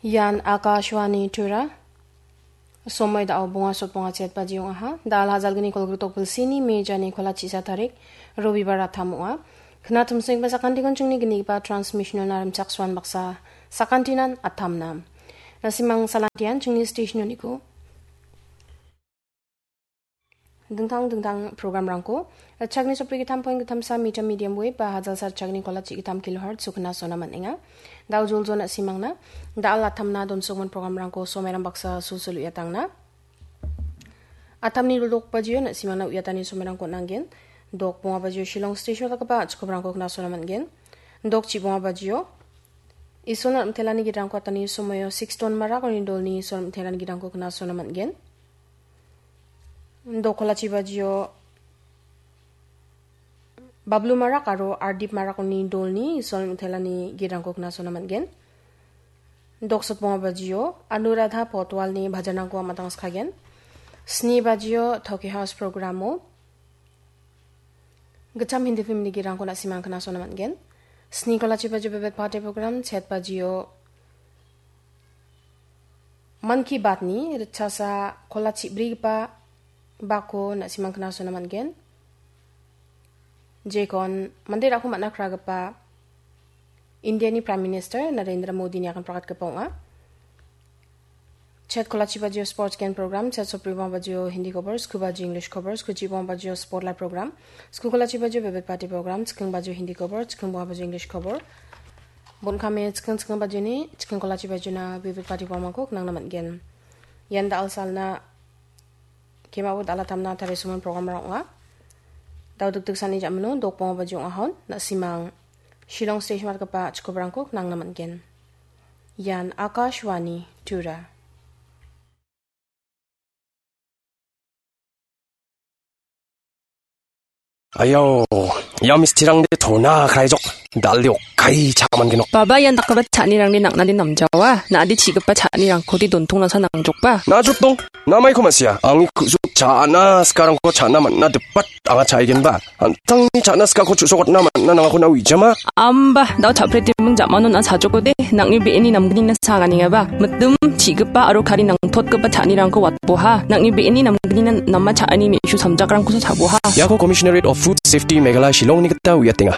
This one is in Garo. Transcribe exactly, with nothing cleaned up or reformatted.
Ian Akashvani Tura. Somoi da·o bonga sot bonga chet baji ong·aha. Da·al hajalgni kolgritok bilsini mejani kola chisa tarik, Robibar atam ong·a. Kna tumsenggipa sakantikon chingni gnigipa transmission-ona rimchaksoan baksa sakantinan atamna. Nasimang salantian chingni station-oniko. Dingtang dingtang programrangko, ritchakni sopri gittam point gittamsa meter medium wave ba hajalsa ritchakni kola chi gittam kilohertz-o knasona man·enga. Da·o joljona simangna, da·al atamna donsokmon programrangko somerang baksa sulsul uiatangna. Atamni dok bajio na·simangna uiatani somerangko nanggen. Dok bonga bajio Shillong station dakgipa chikobrangko knasona man·gen. Dok chi bonga bajio Isolna rimtelani gidrangko atani somoio six ton marak oni dolni Isol rimtelani gidrangko knasona man·gen. Dok kolachi bajio Bablu Marak aro Ardip Marak oni dolni Isol rimtelani gidrangko knasona man·gen. Dok sotbonga bajio Anuradha Potwalni bhajanrangko amatang skagen. Sni bajio Toki House programo gitcham Hindi filmni gidrangko na·simang knasona man·gen. Sni kolachi bajio Bebet Party program, chet bajio Mann Ki Baat-ni ritchasa kolachi brigipa bako na·simang knasona man·gen. Jekon mande rako man·a kragipa Indiani Prime Minister Narendra Modini akan prakatgipa ong·a. Chet kolachi bajio sports gen program, chet sopri bang bajio Hindi khobor, sku bajio English khobor, sku chi bang bajio sport live program, sku kolachi bajio Bebet Party program, chiking bajio Hindi khobor, chiking bang bajio English khobor. Bon kame chiking chiking bajioni, chiking kolachi bajiona Bebet Party programko knangna man·gen. Ian da·al salna kemao dal·a tamna tarie somon programrang ong·a. Da·o dikdiksani ja·mano dok bonga bajio ong·ahon, na·simang Shillong station matgipa chikobrangko knangna man·gen. Ian Akashvani Tura. Ayau, ia mistirangde tona kraijok, dal·de okkai cha·mangenok. Baba, ian dakgipa cha·anirangde nang·nade namjawa, na·ade chi·gipa cha·anirangkode dontongnasa nangjokba. Na·jotdong, namaiko ma·sia, angni ku·suk cha·ana sikarangko cha·na man·na dipat anga cha·aigenba. An·tangni cha·na sikako chu·sokatna man·na nangako na uijama? Amba, dao cha·pretiming ja·mano na·a sajokode, nang·ni be·eni namgnina saganengaba. Mitim, chi·gipa aro kari nangtotgipa cha·anirangko watboha. Nang·ni be·eni namgnina nama cha·ani me·su samjakrangkosa cha·boha. Iako Commissionerate of Food Safety Meghalaya Shillongni gita uiatenga.